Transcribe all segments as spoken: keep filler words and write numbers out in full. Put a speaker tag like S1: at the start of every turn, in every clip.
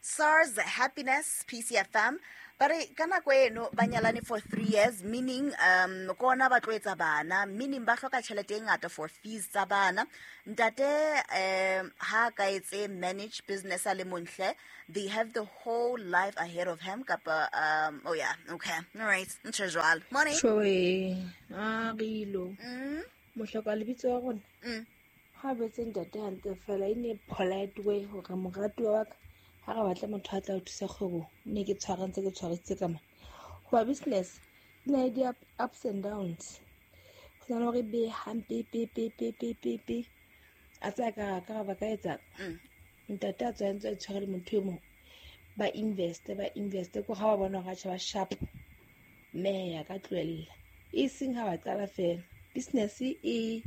S1: SARS Happiness P C F M. Ba re ka nako eno ba nyalane for three years, meaning um kona ba tlo etsa bana, meaning ba hloka tjhelete e ngata for fees tsa bana. Ntate um ha ka etse manage business a le montle, they have the whole life ahead of him kapa um oh yeah, okay. All right. Ntho jwalo. Morning.
S2: Shoe, a rilo.
S1: Mm.
S2: Mohloka lebitso wa rona.
S1: Mm.
S2: Ha betse ntate hantle fela e ne polite way hore moratuwa wa ka ha re batla motho a tla o thusa kgwebo, ne ke tshwara ntse ke tshwarisitse ka mane. Hoba business e na le di-ups and downs. Ho na le hore be hampe pe pe pe pe pe pe. A tsaya ka ka ba ka etsa.
S1: Mm.
S2: Ntate a tswa ntse a tshware le motho e mong. Ba invest, ba invest ko ha ba bona hore atjhe ba sharp. Mme ya ka tlohella. E seng ha ba qala fela. Business e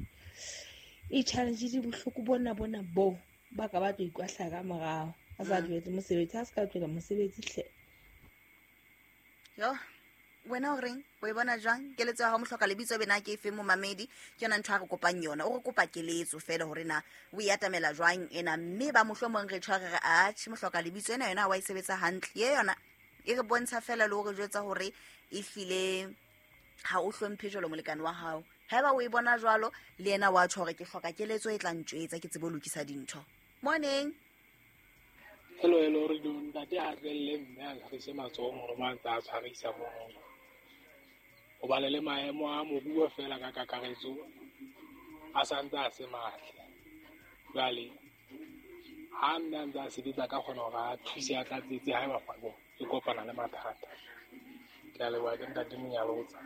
S2: e challenge di bohloko bona bona bo ba ka ba tlo ikwahla ka morao. A sa tlohetse mosebetsi, ha se ka tlohela mosebetsi hle.
S1: Yo, wena o reng? O e bona jwang? Keletso ya hao mohloka lebitso bena ke efe momamedi? Ke yona ntho a re kopang yona. O re kopa keletso fela hore na o e atamela jwang ena, mme ba mohlomong re tshware re atjhe mohloka lebitso ena yona wa e sebetsa hantle. Ye yona e re bontsha fela le hore jwetsa hore e hlile ha o hlomphe jwalo molekane wa hao. Haeba o e bona jwalo le yena wa tjho hore ke hloka keletso e tla ntjwetsa ke tsebe ho lokisa dintho. Morning.
S3: Hello, hello, re do ntate a tlohelle mme a tshwarise matsoho hore mang tsa tshwarisa moo. Hobane le maemo a moruo fela ka kakaretso a santse a se matle. Jwale ha mme a ntse a sebetsa ka kgona hore a thuse a tlatsetse haeba kgwebo e kopana le mathata. Ke a leboha, ke ntate Monyalotsa.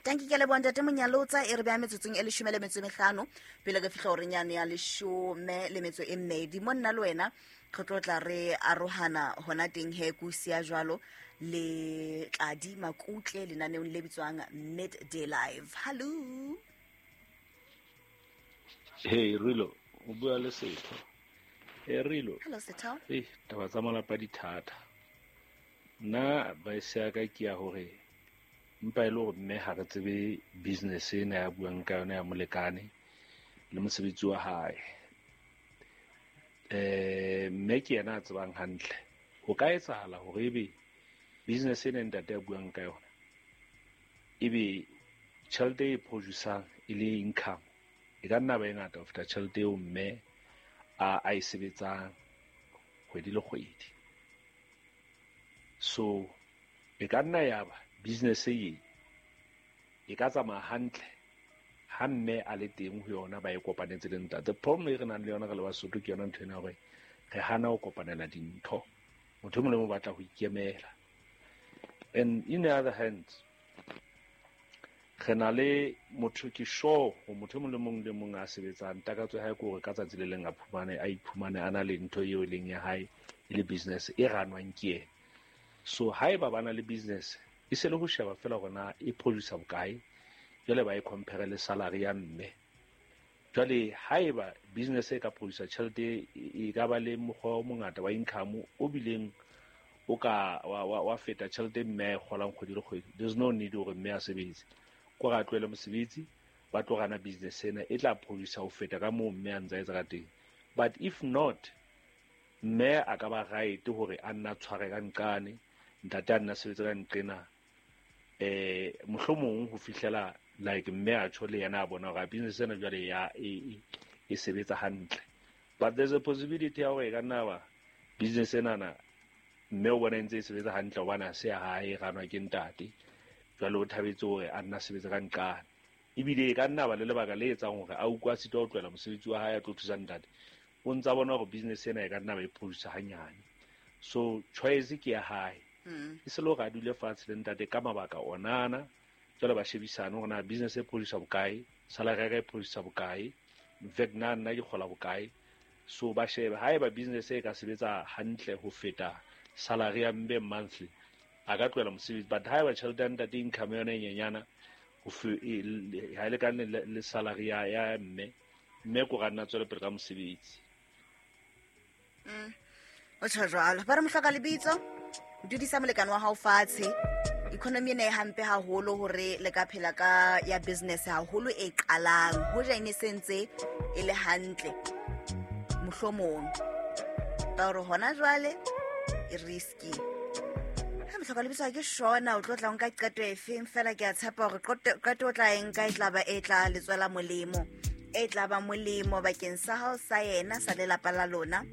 S1: Tanki ke leboha ntate Monyalotsa. E re beha metsotsong e leshome le metso e mehlano pele re fihla horeng yane ya leshome le metso e mmedi. Mo nna le wena re tlo tla re arohana hona teng he ko siya jwalo le Tladi Makutle lenaneong le bitswang Midday Live. Hello.
S4: Hey Rilo, o bua le Setho. Hey Rilo.
S1: Hello Setho.
S4: Eh, taba tsa malapa di thata. Nna advice ya ka ke ya hore mpa e le hore mme ha re tsebe business ena ya buang ka yona ya molekane le mosebetsi wa hae. Eh, mme ke yena a tsebang hantle. Ho ka etsahala hore ebe business ena ntate a buang ka yona ebe tjhelete e produce-ang e le income e ka nna ba e ngata ho feta tjhelete eo mme a a e sebetsang kgwedi le kgwedi. So e ka nna ya ba business e e ka tsamaya hantle ha mme a le teng ho yona ba e kopanetse le ntate. Problem e re nang le yona re le Basotho ke yona ntho ena hore re hana ho kopanela dintho. Motho e mong le mong o batla ho ikemela. And in the other hand, re na le motho ke sure ho motho e mong le mong le mong a sebetsang takatso ya hae ke hore ka tsatsi le leng a phumane a iphumane a na le ntho eo e leng ya hae e le business e ranwang ke yena. So haeba ba na le business e se le ho sheba fela hore na e produce bokae, jwale ba e compare le salary ya mme. Jwale haeba business e ka produce tjhelete e ka ba le mokgwa o mongata wa income o bileng o ka wa, wa, wa feta tjhelete mme a e kgolang kgwedi le kgwedi, there's no need hore mme a sebetse. Ko re a tlohele mosebetsi, ba tlo rana business ena e tla produce ho feta ka moo mme a ntse a etsa ka teng. But if not, mme a ka ba right hore a nna tshware ka nqane, ntate a nna sebetse ka nqena, eh mohlomong ho fihlela like mme a tjho le yena a bona hore business ena jwale ya e, e, e sebetsa hantle. But there's a possibility ya hore e ka nna ba business ena na mme o bona e ntse e sebetsa hantle hobane ha se ya hae, e ranwa ke ntate. Jwale o thabetse hore a nna sebetsa ka nqane. Ebile e ka nna ba le lebaka le etsang hore a utlwe a sitwa ho tlohela mosebetsi wa hae a tlo thusa ntate. O ntsa bona hore business ena e ka nna ba e produce hanyane. So choice ke ya hae.
S1: Mm.
S4: E se le hore a dule fatshe le ntate ka mabaka onana, jwale ba shebisane hore na business e produce bokae, salary ya ka e produce bokae, in fact nna nna ke kgola bokae. So ba shebe haeba business e ka sebetsa hantle ho feta salary ya mme monthly, a ka tlohela mosebetsi. But haeba tjhelete ya ntate income yona e nyenyana ho fe-, e, le, ha e lekane le, le salary ya, ya mme, mme ko ra nna tswele pele ka mosebetsi.
S1: Mm. O tjho jwalo. Ba re mohloka lebitso, dudisa molekane wa hao fatshe. Economy ena e hampe haholo hore le ka phela ka ya business haholo e qalang. Hoja e ne sentse e le hantle mohlomong. Ba hore hona jwale risky. Ha mohloka lebitso ha ke shona o tlo tla nka qeto efeng, fela ke a tshepa hore qeto o tla e nka e tla ba e tla le tswela molemo, e tla ba molemo bakeng sa hao, sa yena, sa lelapa la lona.